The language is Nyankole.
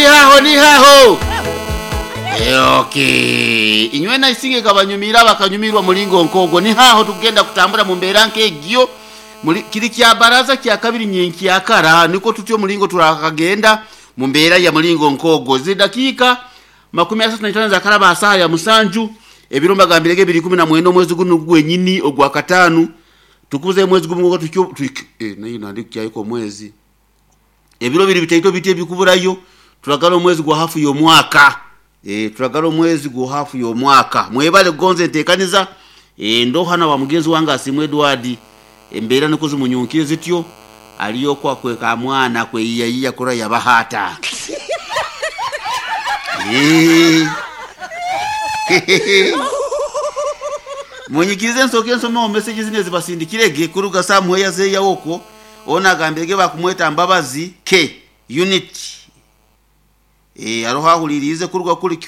Nihaho nihaho. Okay. Inywe naisinge kabanyumira bakanyumirwa mulingo nkogo. Nihaho tugenda kutambura mu mbeera nk'egyo. Muri kiri kya baraza kya kabiri nyenki yakara niko tutyo mulingo turakagenda mu mbeera ya mulingo nkogo. Zidakika 35 za karaba saa ya musanju ebiro mbagambirege biri 19 omwezi guno gwenyini ogwa katano tukuze mwezi gumu tukyo nayo nandi kyayiko mwezi ebiro biri bitaito biti ebikuburayo turagala omwezi gwa hafu y'omwaka turagala omwezi gwa hafu y'omwaka mwebale gonze ntekaniza ndo hana wa mugenzi wange Asiimwe Edward embeera niko zimunyunkire zityo aliyo kwa kweka mwana kweyiyayiya kura yabahata. Munyikirize nsoke nsome message zine zibasindikirege kuruga samuheya zeya woko ona agambirege bakumweta Mbabazi K unit aroho ahulirize kuruga kuri.